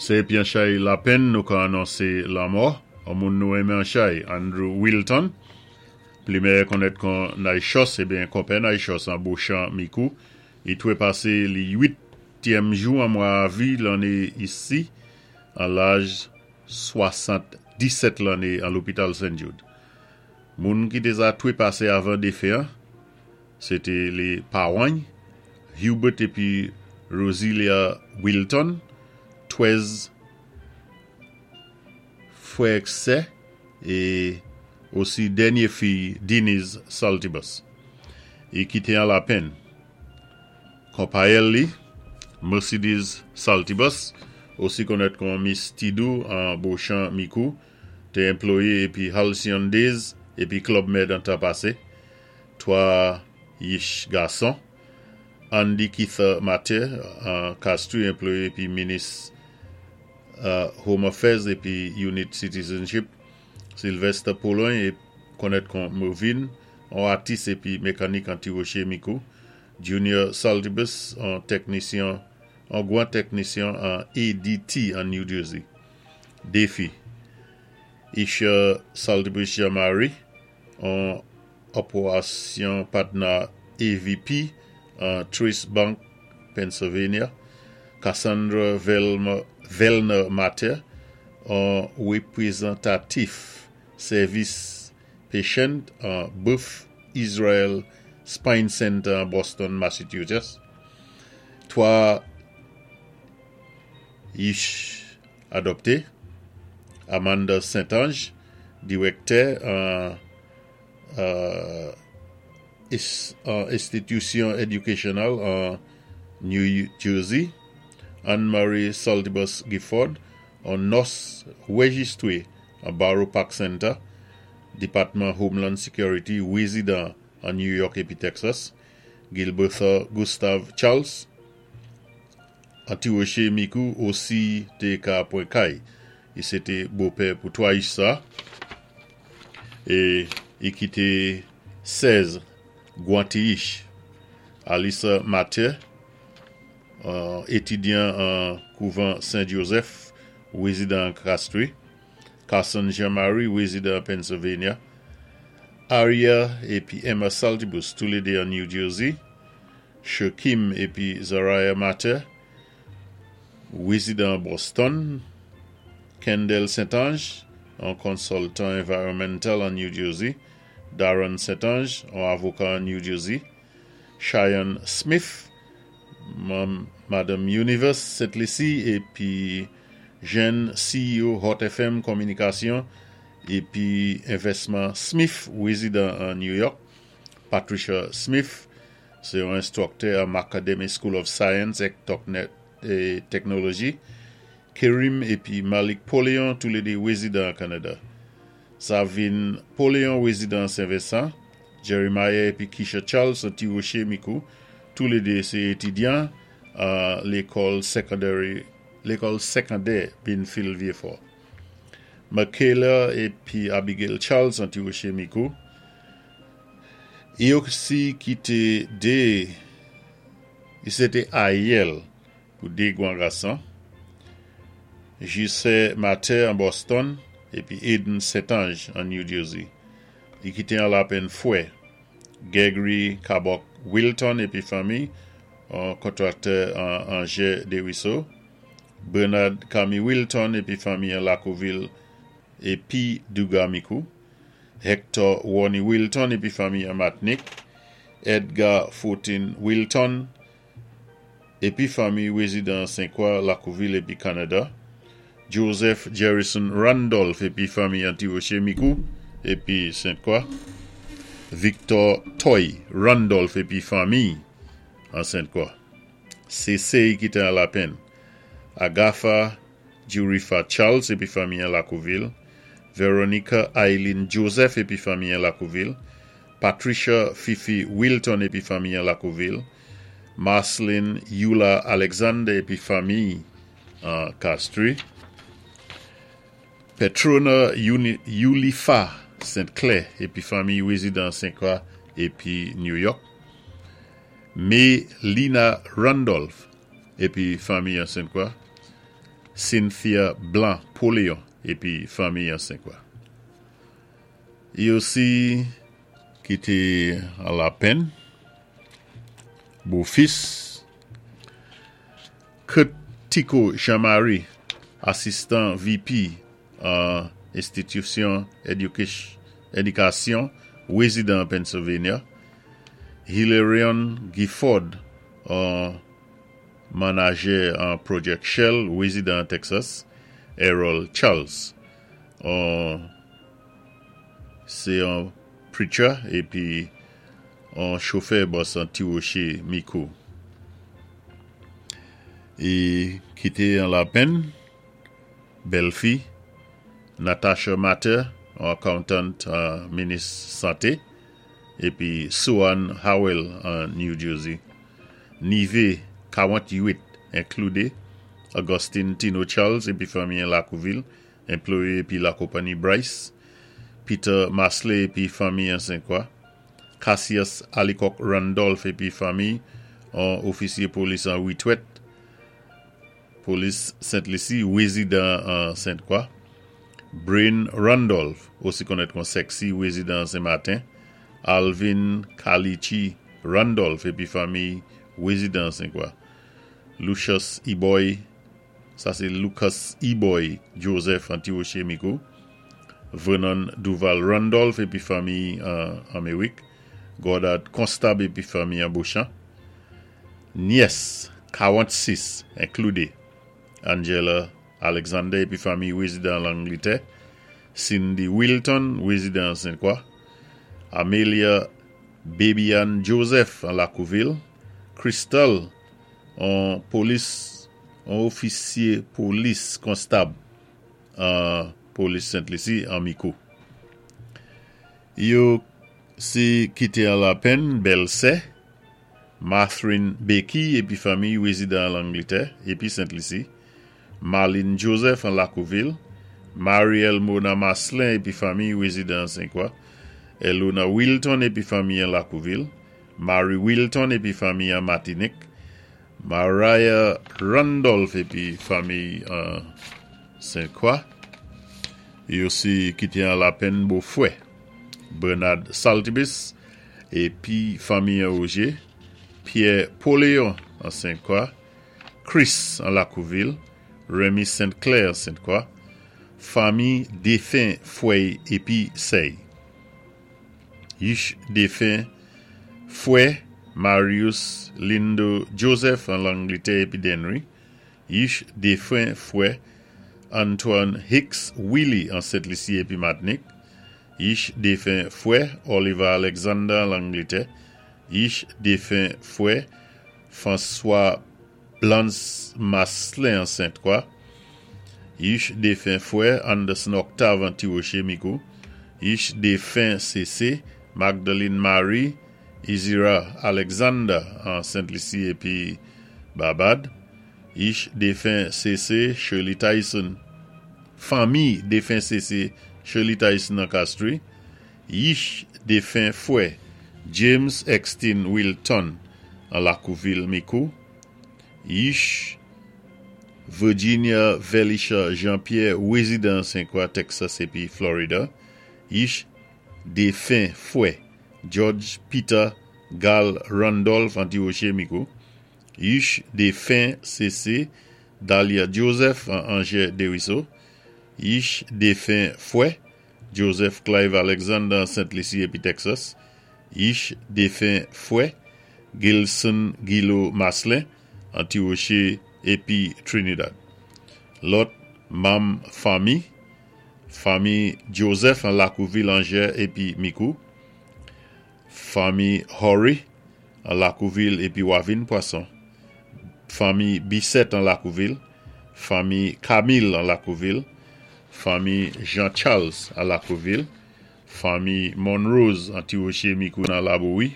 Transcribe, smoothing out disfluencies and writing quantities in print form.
Sé épi an chay lapenn nou ka anonsé lanmò on moun nou renmen an chay, Andrew Wilton, pli mèyè konnèt kon Naychòs ébyen konpè Naychòs an Bochan Mikou. I twépasé li uityèm jou an mwa Avwi lanné isi an laj 77 lanné an lopital Sen Jude. Moun ki té za twépasé avan défen an, sé té lé pawan-y, Hubert épi Rosilia Wilton, 13 frè ak sè é osi dènyé fiy Denise Saltibus. I kité an lapenn. Konpayèl li, Mercedes Saltibus, osi konnèt kon Miss Tidou an Bochan Mikou, té enployé épi Halcyon Days épi Club Med an tan pasé. 3 yich gason, Andy Keither Mathieu an Castries enployé épi minis Home Affairs épi Unit Citizenship, Sylvester Pologne konnèt kon Mervin, on atis épi mekanik an Ti Woché Mikou, Junior Saltibus, on tèknisyon, on gwan tèknisyon an ADT an New Jersey. Dé fi, Isha Saltibus Jean-Marie, on Operasyon Patna AVP an Trace Bank, Pennsylvania, Cassandra Vellner Mather, on wépwézantatif sèvis Patient an Beth Israel Spine Center an Boston, Massachusetts. 3 yich adòpté, Amanda Saint-Ange, diwèktè an enstitisyon educational an New Jersey, Anne Marie Saltibus Gifford, on nòs wéjistwé an Borough Park Center, Depatman Homeland Security, wézidan an New York épi Texas, Gilbertha Gustave Charles, an Ti Woché Mikou osi té ka pwan kay. I sé té bopè pou 3 yich sa é i kité 16 gwan ti yich. Alissa Mathieu, étidyan an kouvan Sen Joseph, wézidan an Castries, Carson Jean Marie, wézidan an Pennsylvania, Aria épi Emma Saltibus, toulédé an New Jersey, Shakim épi Zariah Mathieu, wézidan an Boston, Kendall Saint-Ange, on consultant environmental an New Jersey, Darren Saint-Ange, on avoka an New Jersey, Cheyenne Smith, Madam Universe Sent Lisi épi jenn CEO Hot FM Kominikasyon épi Envèsman Smith, wézidan an New York, Patricia Smith, sé yon enstwiktè an Academy School of Science ek Technology, Kerim épi Malik Poléon, toulédé wézidan an Kanada. Savin Poléon, wézidan an Sen Vensan, Jeremiah épi Keisha Charles an Ti Woché Mikou, toulédé sé étidyan an lékòl secondary lékòl sékondè Binfield Vieux-Fort. Michaela épi Abigail Charles an Ti Woché Mikou, I osi kité 2 i sé té ayèl pou 2 gwan gason, Jisè Mather an Boston épi Aiden Saint-Ange an New Jersey. I kité an lapenn fwè, Gregory Cabok Wilton épi fanmi, on kontraktè an Anjè Desruisseaux, Bernard Camille Wilton épi fanmi an Lakouvil épi Duga Mikou, Hector Ronnie Wilton épi fanmi an Matnik, Edgar Fortin Wilton épi fanmi wézidan Sen-Kwa, Lakouvil épi Kanada, Joseph Jerrison Randolph épi fanmi an Ti Woché Mikou épi Sent-Kwa, Victor Toy Randolph épi fanmi an Sent-Kwa. Sé séy ki té an lapenn. Agatha Jurifa Charles épi fanmi an Lakouvil, Veronica Eileen Joseph épi fanmi an Lakouvil, Patricia Fifi Wilton épi fanmi an Lakouvil, Marceline Eula Alexander épi fanmi an Castries, Petrona Eulifa Saint Clair épi fanmi wézidan Sen-Kwa épi New York, May Lina Randolph épi fanmi an Sen-Kwa, Cynthia Blanc Poléon épi fanmi an Senkwa. I osi ki té an lapenn, bofis Kurt Tico Jean Marie, asistan VP an enstitisyon édikasyon, wézidan Pennsylvania, Hilarion Gifford, an manajè an Project Shell, wézidan Texas, Errol Charles, an sé an preacher épi an chofè bòs an Ti Woché Mikou. I kité an lapenn, bèlfi, Natasha Matter, an accountant an minis santé, épi Suan Howell an New Jersey. Nivé 48 inkloudé Augustine Tino Charles épi fanmi an Lakouvil, anplwayé épi lakonpanni Bryce, Peter Masley épi fanmi an Senkwa, Cassius Alicock Randolph épi fanmi an ofisyé polis an witwèt, polis Sent Lisi, wézidan an Sent Kwa, Brain Randolph, osi konnèt kon Sexy, wézidan an Sen Maten, Alvin Kalichi Randolph épi fanmi wézidan an Sen Kwa, Lucius Eboy, sa sé Lucas Eboy Joseph an Ti Woché Mikou, Vernon Duval Randolph épi fanmi an Anméwik, Goddard Constab épi fanmi an Beauchamp, Nyès 46 inkloudé Angela Alexander épi fanmi wézidan Langlitè, Cindy Wilton wézidan an Senkwa, Amelia Babyann Joseph an Lakouvil, Crystal an polis an ofisyé polis konstab an polis Sent Lisi an Mikou. Yo si kité an lapenn bèlsè Matherine Becky épi fanmi wézidan an Langlitè épi Sent Lisi, Marlene Joseph an Lakouvil, Marielle Mona Maslin épi fanmi wézidan an Senkwa, Elona Wilton épi fanmi an Lakouvil, Marie Wilton épi fanmi an Matinik, Mariah Randolph épi fanmi an Senkwa, yo si kité an lapenn bofwè Bernard Saltibus épi fanmi an Roger, Pierre Poléon an Senkwa, Chris an Lakouvil, Remy Saint Clair an Sentkwa, fanmi défen fwèy épi sèy. Yich défen fwè Marius Lindo Joseph an Langlitè épi Denry, Yich défen fwè Antoine Hicks Willy an Sent Lisi épi Matnik, Yich défen fwè Oliver Alexander an Langlitè, Yich défen fwè François Blance Maslin an Sentkwa, Yich défen fwè Anderson Octave an Ti Woché Mikou, Yich défen CC Magdalene Marie Izira Alexander an Sent Lisi épi Barbad, Yich défen CC Shirley Tyson, fanmi défen CC Shirley Tyson an Castries, Yich défen fwè James Extin Wilton an Lakouvil Mikou, Yich Virginia Velisha Jean Pierre wézidan Senkwa Texas épi Florida, Yich défen fwè George Peter Gal Randolph an Ti Woché Mikou, Yich défen CC Dahlia Joseph an Anjè Deriso, Yich défen fwè Joseph Clive Alexander an Sent Lisi épi Texas, Yich défen fwè Gilson Guilo Maslin an Ti Woché épi Trinidad. Lòt manm fanmi, Fanmi Joseph an Lakouvil Anjè épi Mikou, Fanmi Horry an Lakouvil épi Wavin Pwason, Fanmi Bisset an Lakouvil, Fanmi Camille an Lakouvil, Fanmi Jean Charles an Lakouvil, Fanmi Monrose an Ti Woché Mikou nan Labouwi.